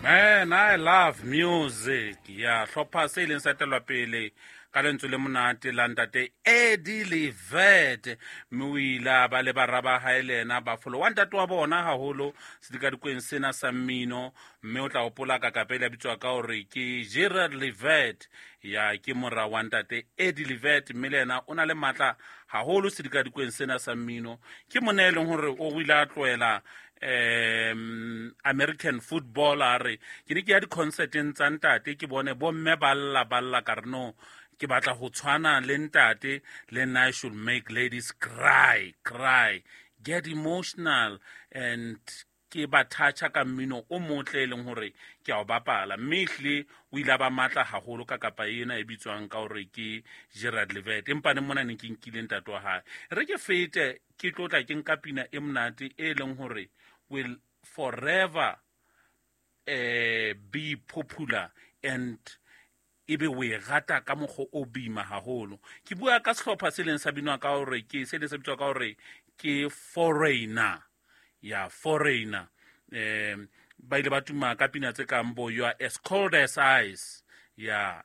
Man, I love music. Ya hlopha se ileng sa etelwa pele ka lentswe le monate la ntate Eddie Levet, mme o ile a ba le bara ba hae le ena ba folo wa ntate wa bona haholo sedikadikweng sena sa mmino. Mme o tla hopola kakapele a bitswa ka hore ke Gerard Levet, ya ke mora wa ntate Eddie Levet, mme le ena o na le matla haholo sedikadikweng sena sa mmino. Ke monna e leng hore o ile a tlohela American football, a re ke ne ke ya di-concerteng tsa ntate, ke bone bomme ba lla ba lla, ka re no, ke batla ho tshwana le ntate, le nna I should make ladies cry, cry, get emotional, and ke ba toucha ka mmino o motle e leng hore ke a o bapala. Mme ehlile o ile a ba matla haholo ka kapa ena e bitswang ka hore ke Gerard Levet, empa ne mona ne ke nkile ntate wa hae. Re ke fete ke tlo tla ke nka pina e monate e leng hore will forever be popular and ebe o e rata ka mokgwa o boima haholo. Ke bua ka sehlopha se leng sa binwa ka hore ke se leng sa bitswa ka hore ke Foreigner, ya Foreigner. Ba ile ba tuma ka pina tse kang bo You Are As Cold As Ice, ya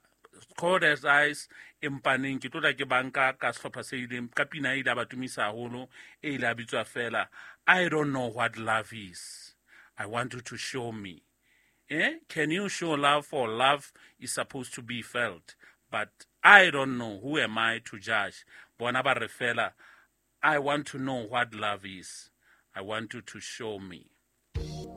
Cold As Ice, empaneng ke tlotla ke banka ka sehlopha se ileng ka pina e ile a ba tumisa haholo, e ile a bitswa fela I Don't Know What Love Is, I Want You to Show Me. Can you show love, for love is supposed to be felt, but I don't know, who am I to judge. Bona ba re fela I want to know what love is, I want you to show me.